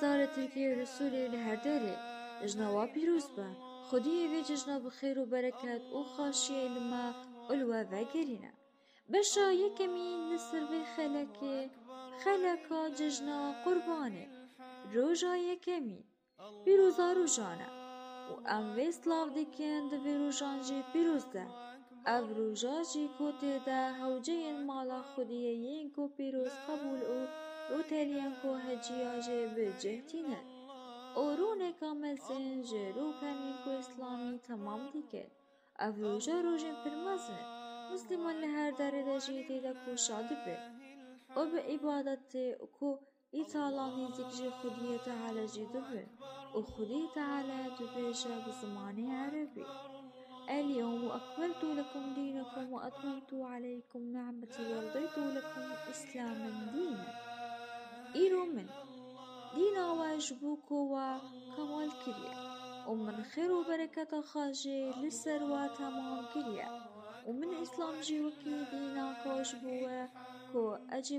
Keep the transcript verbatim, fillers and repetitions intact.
Zarê Tirkiyê û Sûriyê li her derê. Cejna we pîroz be. Xwediyê vê cejna bi xêr û bereket û xaşiyê li me û li we vegerîne. Beşa yekemîn li ser vê xelekê, xeleka cejna Qurbanê. Roja yekemîn. Pîroza rojan e û em vê silav dikin di vê rojan jî pîroz de. Ev roja jî ku tê de hewceyên mala Xwediyê yên ku pîroz qebûl û rûteliyên ku heciya jê bi cih tînin û rûneka mezin ji rûkenên ku Îslamî temam dikin. Ev roja rojên pir mezin in. Mislîman li her derê de jî tê de ku şa dibin û bi îbadetê û ku Îtala nêzîk ji Xwediyê Teala jî dibin û Xwediyê Teala dibêje bi zimanê erebî: "اليوم أكملت لكم دينكم وأتممت عليكم نعمتي ورضيت لكم الإسلام دينا." Îro min dîna we ji bo ku we kemal kiriye û min xêr û bereketa xwe jî li ser we temam kiriye û min Îslam jî wekî dîna xwe ji bo we ku ecî